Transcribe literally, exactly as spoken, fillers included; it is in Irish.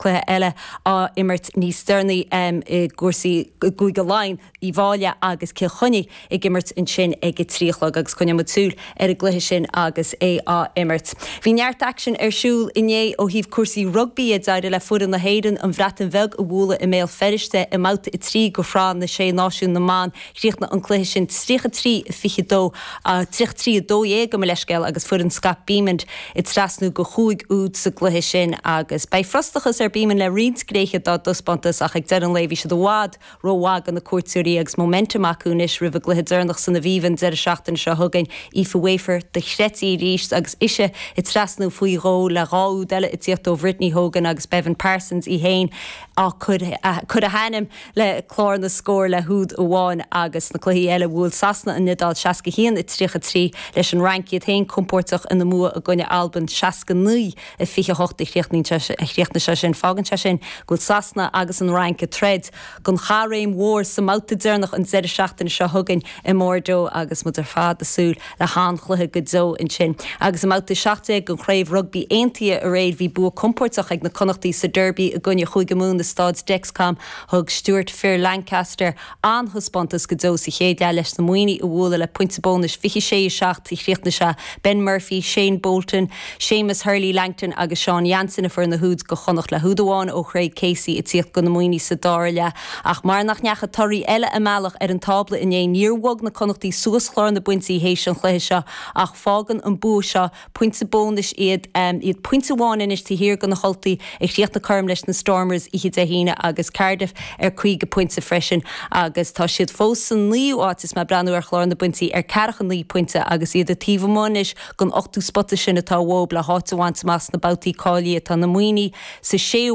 cluiche eile á imirt níos deireanaí um, i gcúrsaí Cúige Laighean Uíbh Fhailí agus Cill Chainnigh ag imirt ansin ag a trí a chlog agus coinneoidh muid súil ar an gcluiche sin agus é á imirt. Bhí neart aicsin ar siúl inné ó thaobh cúrsaí rugbaí d'éirigh le foireann na hÉireann an Bhreatain Bheag a bhualadh i mBéal Feirste i mbabhta a trí de Shraith na Sé Náisiún na mBan chríochnaigh an cluiche sin tríocha trí fiche dó tríocha trí a dó dhéag gabh mo leithscéal agus foireann Scott Bemand ag trasnú go chúig úd sa gcluiche sin agus beidh frustrachas ar Bemand le roinnt gnéithe dá dtaispeántas ach ag deireadh an lae bhí siad i bhfad rómhaith do na cuairteoirí agus momentum acu anois roimh a gcluiche deireanach san Aviva an deireadh seachtaine seo chugainn Aoife Wafer do chreidtí arís agus ise ag trasnú faoi dhó le dhá úd eile ag tíocht ó Brittany Hogan agus Beibhinn Parsons í féin á cur a hainm le clár na scór le húd amháin agus na cluichí eile bhuail Sasana an Iodáil seasca haon a tríocha trí leis an Fhrainc iad féin compordach ina mbua i gcoinne Albain seasca naoi a fiche hocht a chríochnaigh sé sin fágann sé sin go bhfuil Sasana agus an Fhrainc ag troid don chaithréim mhór sa mbabhta deireanach an deireadh seachtaine seo chugainn i mBordeaux agus muid ar fad ag súil le han-chluiche go deo ansin. Agus i mbabhta seacht déag den chraobh rugbaí aontaithe aréir bhí bua compordach ag na Connachtaigh sa Derby i gcoinne Chúige Mumhan i Staid Dexcom thug Stuart fir Lancaster an-taispeántas go deo sa chéad leath leis na Muimhnigh a bhualadh le pointe bónais fiche sé a seacht a chríochnaigh sé Ben Murphy, Shane Bolton, Seamus Hurley Langton agus Sean Jansen a fuair na húid do Chonnacht le húd amháin ó Craig Casey ag tíocht do na Muimhnigh sa dara leath ach mar nach ndeachaigh torthaí eile a mbealach ar an tábla inné níor bhog na Connachtaigh suas clár na bpointí théis an chluiche seo ach fágann an bua seo pointe bónais iad um, iad pointe amháin anois taobh thiar de na hUltaigh a chríochnaigh cothrom leis na Stormers oíche Dé hAoine agus Cardiff ar caoga pointe freisin agus tá siad fós san naoú háit is mé ag breathnú ar chlár na bpointí ar ceathracha naoi pointe agus iad taobh amuigh anois den ochtú spota sin atá uathu le háit a bhaint amach sna babhtaí cáilithe atá na Muimhnigh sa séú